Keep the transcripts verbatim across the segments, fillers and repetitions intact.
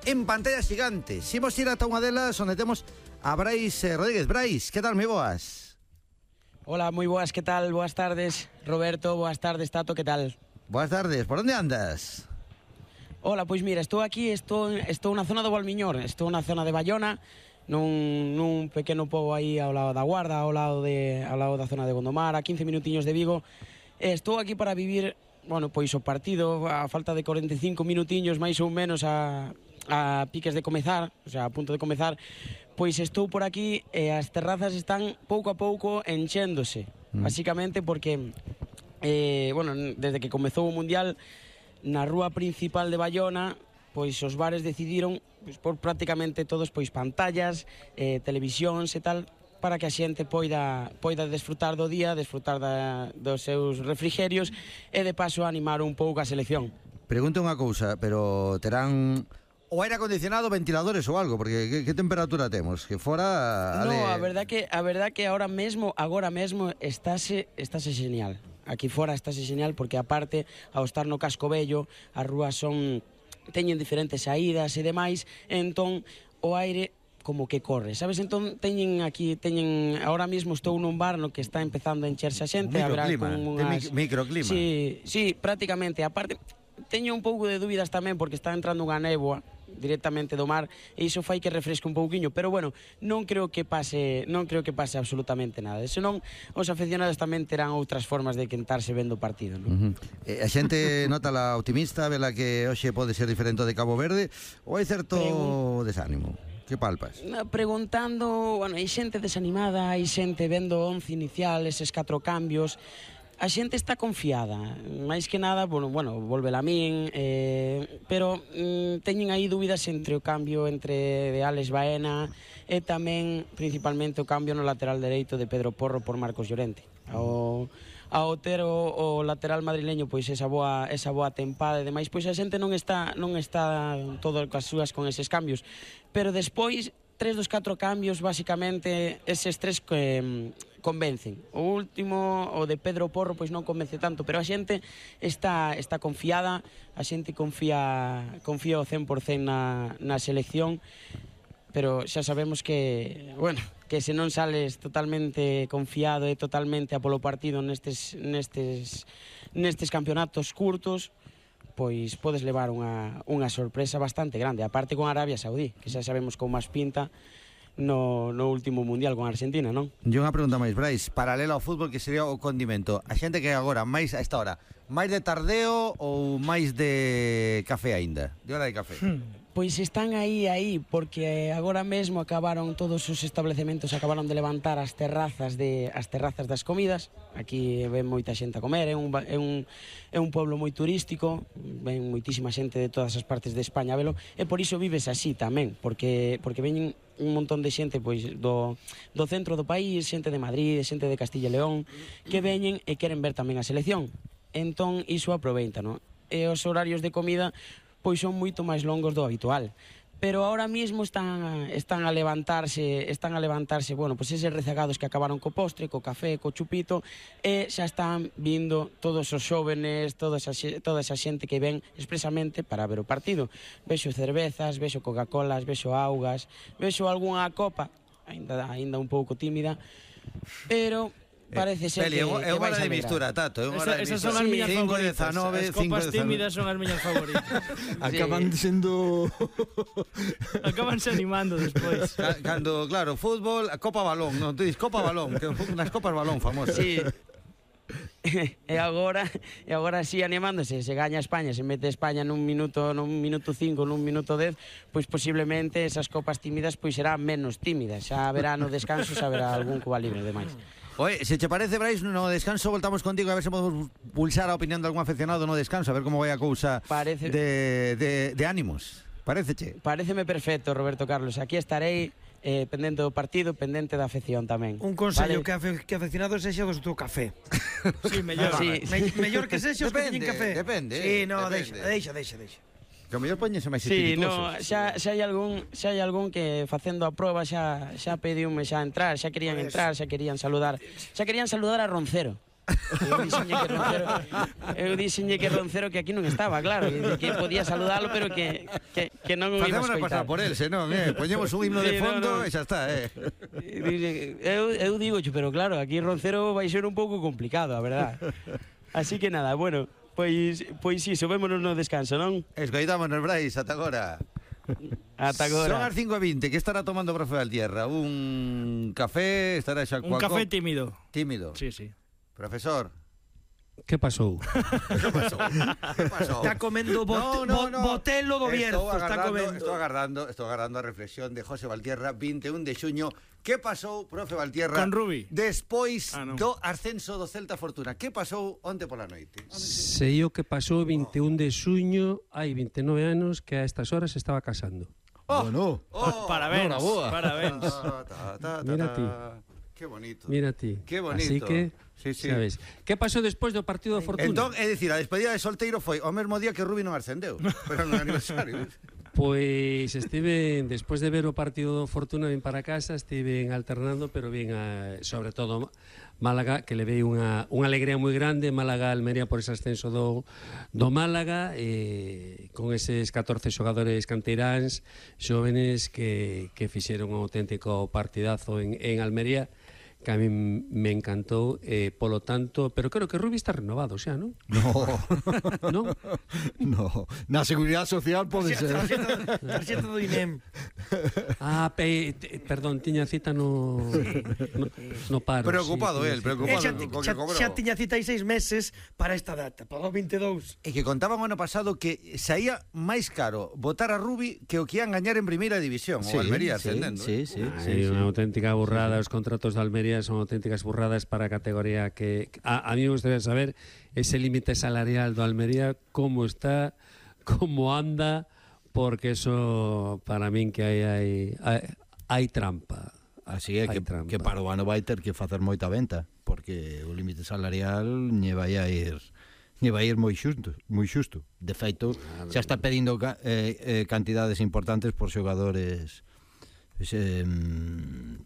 en pantalla xigante. Si imos ir ata unha delas onde temos a Brais eh, Rodríguez. Brais, que tal, moi boas? Hola, moi boas, que tal? Boas tardes, Roberto, boas tardes, Tato, que tal? Boas tardes, por onde andas? Hola, pois mira, estou aquí, estou, estou na zona do Valmiñor, estou na zona de Bayona, nun, nun pequeno pobo aí ao lado da Guarda, ao lado, de, ao lado da zona de Gondomar, a quince minutiños de Vigo. Estou aquí para vivir, bueno, pois o partido, a falta de cuarenta e cinco minutiños, máis ou menos a, a piques de comezar, o sea, a punto de comezar, pois estou por aquí e as terrazas están pouco a pouco enchéndose, mm. basicamente porque, eh, bueno, desde que comezou o Mundial, na rúa principal de Bayona, pois os bares decidiron pois, por prácticamente todos pois pantallas, eh, televisións e tal, para que a xente poida, poida desfrutar do día, desfrutar da, dos seus refrigerios e de paso animar un pouco a selección. Pregunto unha cousa, pero terán o aire acondicionado, ventiladores ou algo, porque que, que temperatura temos? Que fora... No, de... a verdad que a verdad que ahora mesmo, agora mesmo estáse estáse genial. Aquí fora estáse genial porque aparte ao estar no casco vello, as rúas son teñen diferentes saídas e demais, entón o aire como que corre, sabes? Entón teñen aquí, teñen ahora mesmo estou nun bar no que está empezando a encherse a xente, haberá con unhas microclima. Sí, sí, prácticamente, aparte teño un pouco de dúbidas tamén porque está entrando unha néboa directamente do mar e iso fai que refresque un pouquiño, pero bueno, non creo que pase, non creo que pase absolutamente nada. Senón os aficionados tamén terán outras formas de quentarse vendo o partido, non? Uh-huh. eh, a xente nota la optimista, vela que hoxe pode ser diferente de Cabo Verde, ou hai certo Pregun... desánimo? Que palpas? Preguntando, bueno, hai xente desanimada, hai xente vendo o once inicial, eses catro cambios. A xente está confiada, máis que nada, bueno, bueno volve a min, eh, pero mm, teñen aí dúbidas entre o cambio entre de Alex Baena e tamén, principalmente, o cambio no lateral dereito de Pedro Porro por Marcos Llorente. Ao, ao ter o, o lateral madrileño pois esa boa, esa boa tempada e demais, pois a xente non está, non está todo as súas con eses cambios, pero despois tres dos catro cambios, basicamente, eses tres que convencen. O último, o de Pedro Porro, pois non convence tanto, pero a xente está, está confiada, a xente confía, confía o cen por cen na, na selección, pero xa sabemos que, bueno, que se non sales totalmente confiado e totalmente a polo partido nestes, nestes, nestes campeonatos curtos, pois podes levar unha, unha sorpresa bastante grande, aparte con Arabia Saudí, que xa sabemos como máis pinta no, no último mundial con Argentina, non? E unha pregunta máis, Brais, paralela ao fútbol, que sería o condimento. A xente que agora, máis a esta hora, máis de tardeo ou máis de café aínda? De hora de café? Hmm. Pois están aí, aí, porque agora mesmo acabaron todos os establecementos, acabaron de levantar as terrazas de as terrazas das comidas. Aquí ven moita xente a comer, é un, é un, é un pueblo moi turístico, ven moitísima xente de todas as partes de España a velo, e por iso vives así tamén, porque porque veñen un montón de xente pois do, do centro do país, xente de Madrid, xente de Castilla e León, que veñen e queren ver tamén a selección. Entón iso aproveita, non? E os horarios de comida pois son moito máis longos do habitual. Pero ahora mismo están están a levantarse, están a levantarse, bueno, pois eses rezagados que acabaron co postre, co café, co chupito, e xa están vindo todos os xóvenes, toda esa, toda esa xente que ven expresamente para ver o partido. Vexo cervezas, vexo Coca-Colas, vexo augas, vexo algunha copa, aínda aínda un pouco tímida, pero parece ser Peli, que, é unha hora de mistura, Tato, é unha hora de mistura. Esas son as miñas cinco favoritas. dezanove, As copas tímidas son as miñas favoritas. Acaban sendo... Acabanse animando despois. Cando, claro, fútbol, a Copa Balón, non, tú dis Copa Balón, que nas Copas Balón famosas. Sí. E agora, e agora sí animándose, se gaña España, se mete España nun minuto, nun minuto cinco, nun minuto dez, pois posiblemente esas copas tímidas pois serán menos tímidas. Xa haberá no descanso, xa haberá algún Cuba Libre demais. Oye, se te parece, Brais, no descanso voltamos contigo a ver se podemos pulsar a opinión de algún aficionado no descanso, a ver como vai a cousa parece... de, de, de ánimos. Paréceche? Paréceme perfecto, Roberto Carlos. Aquí estarei eh, pendente do partido, pendente da afección tamén. Un consello, vale? que, afe, que aficionado sexa do seu café. Sí, mellor. Sí, Me, mellor que sexa os que teñen café. Depende, sí, no, depende. deixa, deixa, deixa, deixa. Que o mellor poñese máis sí, espirituosos. no, xa, xa hai algún xa hai algún que facendo a proba xa xa pediume xa entrar, xa querían entrar, xa querían saludar, xa querían saludar a Roncero. Eu dixenlle que Roncero, eu dixenlle que Roncero que aquí non estaba, claro, e que podía saludalo, pero que, que, que non o iba a Facémonos escoitar. pasar por él, senón, eh? Poñemos un himno de Sí, no, fondo no. e xa está, eh? Eu, eu digo, pero claro, aquí Roncero vai ser un pouco complicado, a verdad. Así que nada, bueno, pois, pois iso, vémonos no descanso, non? Escoitámonos, Brais, ata agora. Ata agora. Son as cinco e vinte, que estará tomando o profe Valtierra? Un café, estará xa Un coa café copa? tímido. Tímido. Sí, sí. Profesor. Que pasou? Que pasou? Que pasou? Está comendo bot, No, no, no. botelo do Bierzo, Estou está agardando, comendo. estou agardando, estou agardando a reflexión de José Valtierra, vinte e un de xuño. Que pasou, profe Valtierra? Con Rubi. Despois Ah, non. do ascenso do Celta Fortuna. Que pasou onte pola noite? Sei o que pasou vinte e un de xuño, hai vinte e nove anos, que a estas horas estaba casando. Oh, Bueno, oh, Parabéns, Noraboa. parabéns. ta, ta, ta, ta, Mira ta. ti. Qué bonito. Mira ti. Qué bonito. Así que, Sí, sí. sabes. Que pasou despois do partido da Fortuna? Entón, é dicir, a despedida de solteiro foi o mesmo día que Rubi non ascendeu, pero no aniversario. Pois estive, despois de ver o partido do Fortuna, vin para casa, estive alternando, pero vin a, sobre todo Málaga, que levei unha, unha alegría moi grande, Málaga Almería por ese ascenso do, do Málaga, e con eses catorce xogadores canteiráns xóvenes que, que fixeron un auténtico partidazo en, en Almería, que a mí me encantou, eh, polo tanto, pero creo que Rubi está renovado xa, non? no, Non? no. Na Seguridade Social pode ser. Tarxeta do I N E M. Ah, pe, te, perdón, tiña cita no, no, no paro. Preocupado sí, él, tiña preocupado. E xa, co- co que xa, cobrou. xa tiña cita aí seis meses para esta data, para o vinte e dous. E que contaban o ano pasado que saía máis caro votar a Rubi que o que ian gañar en primeira división, o Almería ascendendo. Sí, eh. sí, cita. sí, Hai sí. unha auténtica burrada, os contratos de Almería son auténticas burradas para a categoría que... A, a mí me gustaría saber ese límite salarial do Almería, como está, como anda, porque eso, para min, que hai, hai, hai, hai trampa. Así é que, Hai trampa. que para o ano vai ter que facer moita venta, porque o límite salarial lle vai a ir lle vai ir moi xusto, moi xusto. De feito, xa está pedindo ca- eh, eh, cantidades importantes por xogadores eh,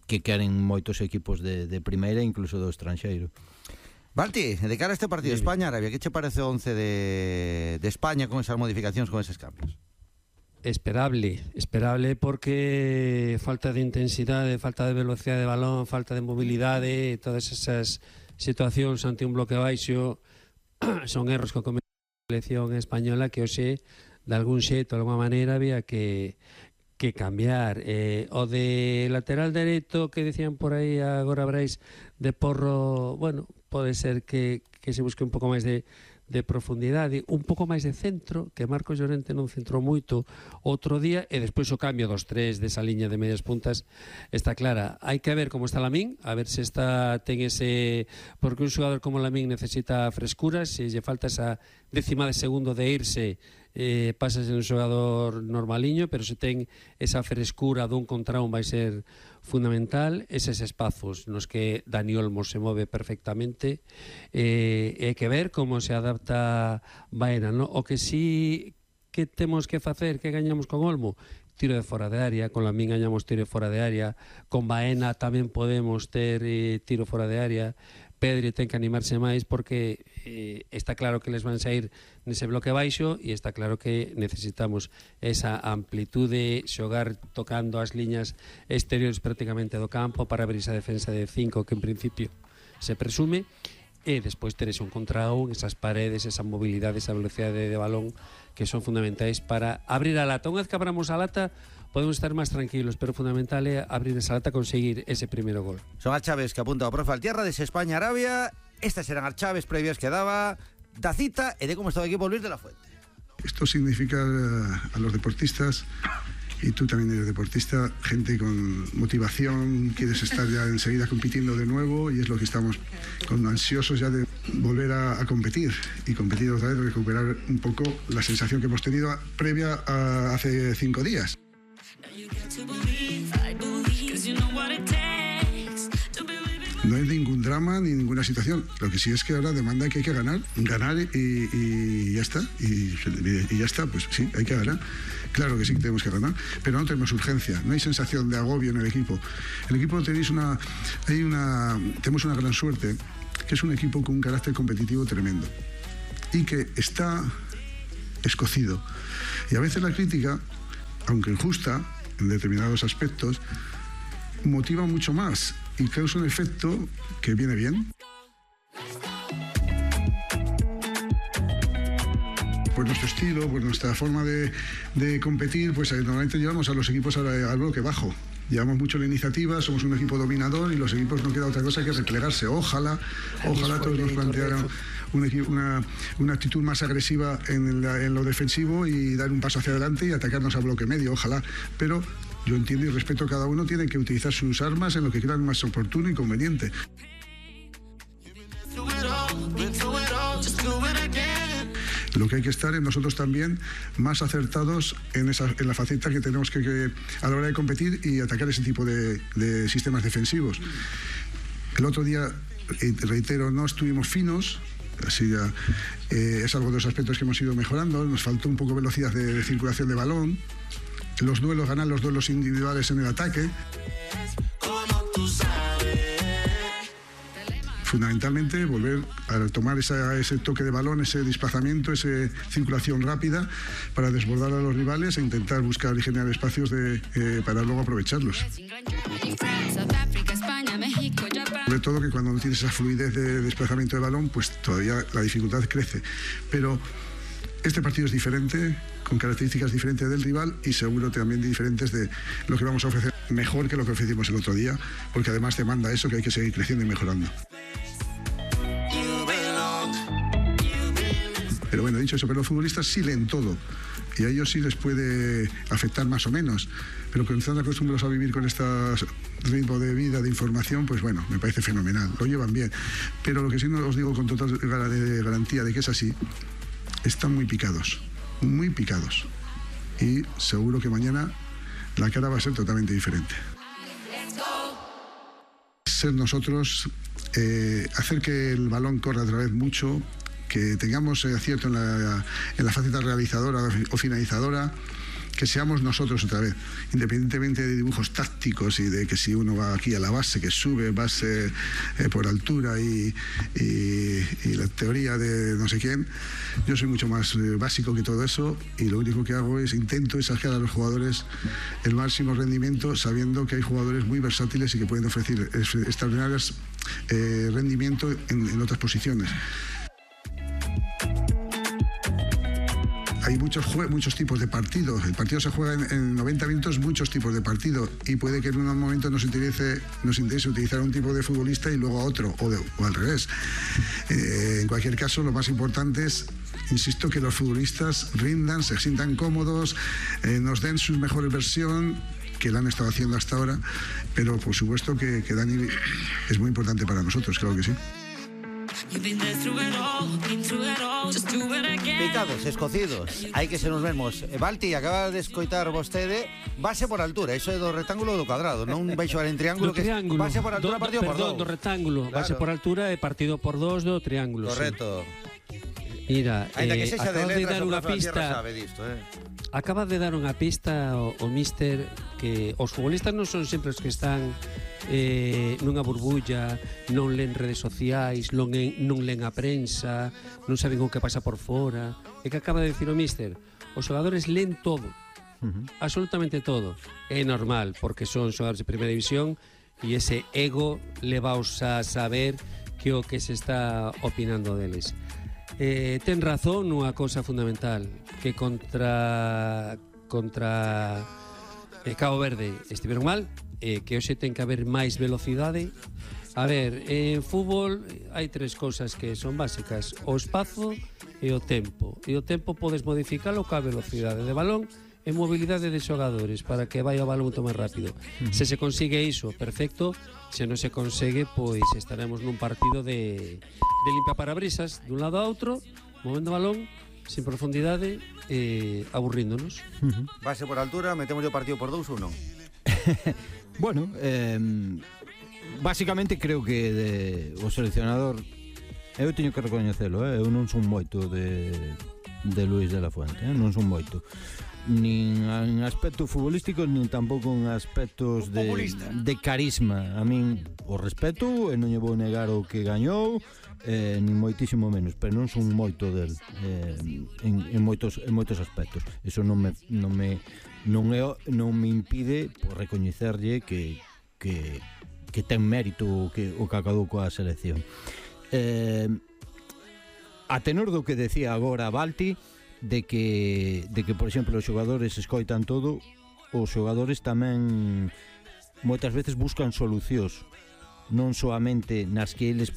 que queren moitos equipos de, de primeira, incluso do estranxeiro. Balti, de cara a este partido España-Arabia, que che parece o once de, de España con esas modificacións, con eses cambios? Esperable, esperable porque falta de intensidade, falta de velocidade de balón, falta de mobilidade, todas esas situacións ante un bloque baixo son erros que comete a selección española que hoxe, de algún xeito, de alguma maneira, había que que cambiar. Eh, o de lateral dereito que decían por aí agora Brais de Porro, bueno, pode ser que, que se busque un pouco máis de, de profundidade, un pouco máis de centro, que Marcos Llorente non centrou moito outro día, e despois o cambio dos tres desa liña de medias puntas está clara. Hai que ver como está Lamín, a ver se está ten ese, porque un xogador como Lamín necesita frescura, se lle falta esa décima de segundo de irse, eh, pasa a ser un xogador normaliño, pero se ten esa frescura dun contra un vai ser fundamental. Eses espazos nos que Dani Olmo se move perfectamente, eh, hai que ver como se adapta Baena, no? O que sí que temos que facer, que gañamos con Olmo, tiro de fora de área, con Lamín gañamos tiro de fora de área, con Baena tamén podemos ter eh, tiro fora de área. Pedri ten que animarse máis porque eh, está claro que les van sair nese bloque baixo, e está claro que necesitamos esa amplitude, xogar tocando as liñas exteriores prácticamente do campo para abrir esa defensa de cinco que en principio se presume, e despois ter ese un contra un, esas paredes, esa mobilidade, esa velocidade de balón que son fundamentais para abrir a lata. Unha vez que abramos a lata podemos estar máis tranquilos, pero fundamental é abrir esa lata, conseguir ese primeiro gol. Son as chaves que apunta o profe Valtierra dese España-Arabia. Estas eran as chaves previas que daba da cita e de como está o equipo Luis de la Fuente. Esto significa a los deportistas, y tú también eres deportista, gente con motivación, quieres estar ya enseguida compitiendo de nuevo, y es lo que estamos con ansiosos ya de volver a, a competir y competir otra vez, recuperar un poco la sensación que hemos tenido previa a hace cinco días. No hay ningún drama ni ninguna situación. Lo que sí es que ahora demanda que hay que ganar, ganar y, y ya está. Y, y ya está, pues sí, hay que ganar. Claro que sí que tenemos que ganar, pero no tenemos urgencia, no hay sensación de agobio en el equipo. El equipo tenéis una, hay una, tenemos una gran suerte, que es un equipo con un carácter competitivo tremendo y que está escocido. Y a veces la crítica, aunque injusta en determinados aspectos, motiva mucho más y causa un efecto que viene bien. Pues nuestro estilo, pues nuestra forma de, de competir, pues normalmente llevamos a los equipos al, al bloque bajo. Llevamos mucho la iniciativa, somos un equipo dominador y los equipos no queda otra cosa que replegarse. Ojalá, ojalá todos nos plantearan una, una, una actitud más agresiva en, el, en lo defensivo y dar un paso hacia adelante y atacarnos a bloque medio, ojalá. Pero yo entiendo y respeto a cada uno, tiene que utilizar sus armas en lo que crean más oportuno y conveniente. Lo que hay que estar es nosotros también más acertados en, esa, en la faceta que tenemos que, que a la hora de competir y atacar ese tipo de, de sistemas defensivos. El otro día, reitero, no estuvimos finos, así ya, eh, es algo de los aspectos que hemos ido mejorando, nos faltó un poco de velocidad de, de circulación de balón, los duelos, ganar los duelos individuales en el ataque. Fundamentalmente volver a tomar esa, ese toque de balón, ese desplazamiento, esa circulación rápida para desbordar a los rivales e intentar buscar y generar espacios de, eh, para luego aprovecharlos. Sobre todo que cuando no tienes esa fluidez de desplazamiento de balón, pues todavía la dificultad crece. Pero este partido es diferente, con características diferentes del rival y seguro también diferentes de lo que vamos a ofrecer, mejor que lo que ofrecimos el otro día, porque además demanda eso, que hay que seguir creciendo y mejorando. Pero bueno, dicho eso, pero los futbolistas sí leen todo y a ellos sí les puede afectar más o menos, pero cuando están acostumbrados a vivir con este ritmo de vida, de información, pues bueno, me parece fenomenal, lo llevan bien. Pero lo que sí os digo con total garantía de que es así, están muy picados, muy picados. Y seguro que mañana la cara va a ser totalmente diferente. Ser nosotros, eh, hacer que el balón corra otra vez mucho, que tengamos acierto en la, en la faceta realizadora o finalizadora, que seamos nosotros otra vez, independientemente de dibujos tácticos y de que si uno va aquí a la base, que sube base eh, por altura y, y, y la teoría de no sé quién. Yo soy mucho más eh, básico que todo eso y lo único que hago es intento es sacar a los jugadores el máximo rendimiento, sabiendo que hay jugadores muy versátiles y que pueden ofrecer extraordinarios eh, rendimiento en, en otras posiciones. Hay muchos, muchos tipos de partidos. El partido se juega en, en noventa minutos, muchos tipos de partido. Y puede que en un momento nos interese, nos interese utilizar un tipo de futbolista y luego a otro, o, de, o al revés. Eh, en cualquier caso, lo más importante es, insisto, que los futbolistas rindan, se sientan cómodos, eh, nos den su mejor versión, que la han estado haciendo hasta ahora. Pero por supuesto que, que Dani es muy importante para nosotros, claro que sí. Picados, escocidos, hai que se nos vemos. Balti, acaba de escoitar vostede base por altura, iso é do rectángulo ou do cuadrado, non vai xogar en triángulo, do triángulo, que base por altura, do, partido perdón, por dous. do rectángulo, claro. Base por altura e partido por dos do triángulo. Correcto. Sí. Mira, Ainda eh, que sexa de acabas de letras, dar unha pista, sabe disto, eh. acabas de dar unha pista o, o míster que os futbolistas non son sempre os que están eh, nunha burbulla, non len redes sociais, non, en, non len a prensa, non saben o que pasa por fora. É que acaba de decir o míster, os xogadores len todo, uh-huh. absolutamente todo. É normal, porque son xogadores de primeira división e ese ego levaos a saber que o que se está opinando deles. Eh, ten razón nunha cousa fundamental, que contra contra eh, Cabo Verde estiveron mal, eh, que hoxe ten que haber máis velocidade. A ver, en fútbol hai tres cousas que son básicas: o espazo e o tempo. E o tempo podes modificalo ca velocidade de balón e mobilidade de xogadores para que vai o balón moito máis rápido. Se se consigue iso, perfecto. Se non se consegue, pois estaremos nun partido de, de limpia parabrisas dun lado a outro, movendo o balón sin profundidade e eh, aburríndonos. Uh-huh. Base por altura, metemos o partido por dous ou non? Bueno, eh, básicamente creo que de, o seleccionador, eu teño que recoñecelo, eh, eu non son moito de, de Luis de la Fuente, eh, non son moito. nin en aspectos futbolísticos nin tampouco en aspectos de, de carisma. A min o respeto e non lle vou negar o que gañou, eh, nin moitísimo menos, pero non son moito del eh, en, en, moitos, en moitos aspectos. Eso non me non me non, é, non me impide por recoñecerlle que, que, que ten mérito o que, o que acabou coa selección. Eh, a tenor do que decía agora Balti, de que, de que por exemplo, os xogadores escoitan todo, os xogadores tamén moitas veces buscan solucións, non soamente nas que eles poden